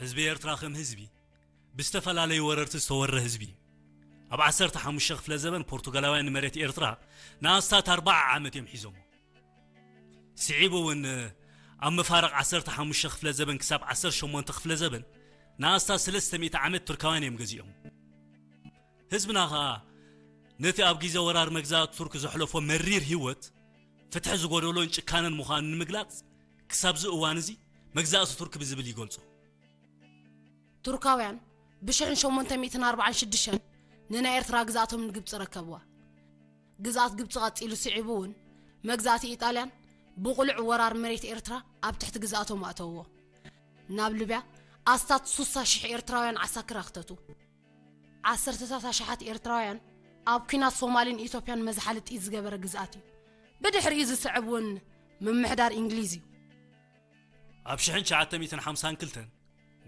ህዝቢ ኤርትራ ከም ህዝቢ ብዝተፈላለዩ ወረርቲ ዝተወረ ህዝቢ እዩ። ኣብ ዓሰርተ ሓሙሽተ ክፍለ ዘበን ፖርቱጋላውያን ንመሬት ኤርትራ ንኣስታት ኣርባዓ ዓመት እዮም ሒዞሞ። ስዒቡ እውን ኣብ መፋርቕ ዓሰርተ ሓሙሽተ ክፍለ ዘበን ክሳብ ዓሰርተ ሸሞንተ ክፍለ ዘበን ንኣስታት ሰለስተ ሚእቲ ዓመት ቱርካውያን እዮም ገዚኦም። ህዝብና ኸኣ ነቲ ኣብ ግዜ ወራር መግዛእቲ ቱርክ ዘሕለፎ መሪር ህይወት ፍትሒ ዝጎደሎን ጭካነን ምዃኑ ንምግላጽ ክሳብዚ እዋን እዚ መግዛእቲ ቱርክ ብዝብል ይገልጾ። ቱርካውያን ብሽሕን ሸሞንተ ሚእትን ኣርባዓን ሽዱሽተን ንናይ ኤርትራ ግዝኣቶም ንግብፂ ረከብዋ። ግዝኣት ግብፂ ቀፂሉ ስዒቡ እውን መግዛእቲ ኢጣልያን ብቑሉዕ ወራር መሬት ኤርትራ ኣብ ትሕቲ ግዝኣቶም ኣእተውዎ። ናብ ሊብያ ኣስታት ሱሳ ሽሕ ኤርትራውያን ዓሳክር ኣኽተቱ። ዓሰርተታት ኣሽሓት ኤርትራውያን ኣብ ኲናት ሶማልን ኢትዮጵያን መዝሓሊ ጥይት ዝገበረ ግዝኣት እዩ። ብድሕሪኡ ዝስዕብ እውን ምምሕዳር እንግሊዝ እዩ። ኣብ ሽሕን ትሽዓተ ሚእትን ሓምሳን ክልተን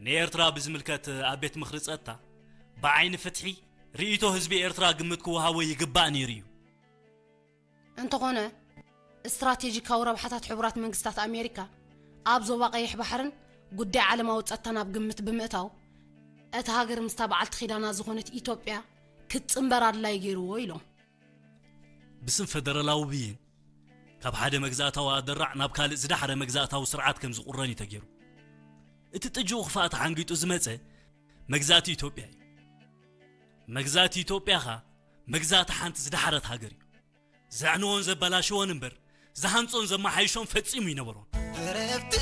ንኤርትራ ብዝምልከት ኣብ ቤት ምኽሪ ጸጥታ ብዓይኒ ፍትሒ ርእይቶ ህዝቢ ኤርትራ ግምት ክወሃቦ ይግባእ ነይሩ እዩ። እንተኾነ ስትራቴጂካዊ ረብሓታት ሕቡራት መንግስታት ኣሜሪካ ኣብ ዞባ ቀይሕ ባሕርን ጉዳይ ዓለማዊ ጸጥታን ኣብ ግምት ብምእታው እታ ሃገር ምስታ በዓልቲ ኺዳና ዝኾነት ኢትዮጵያ ክትጽንበር ኣድላይ ገይርዎ ኢሎም። ብስም ፈደራላዊ ብይን ካብ ሓደ መግዛእታዊ ኣደራዕ ናብ ካልእ ዝዳሕረ መግዛእታዊ ስርዓት ከም ዝቑረን እዩ ተገይሩ። እቲ ጥጅኡ ክፋእ ተሓንጊጡ ዝመጸ መግዛእቲ ኢትዮጵያ እዩ። መግዛእቲ ኢትዮጵያ ኸኣ መግዛእቲ ሓንቲ ዝዳሕረት ሃገር እዩ። ዘዕንዎን ዘበላሽዎን እምበር ዝሃንጾን ዘመሓይሾን ፈጺሙ ይነበሮን።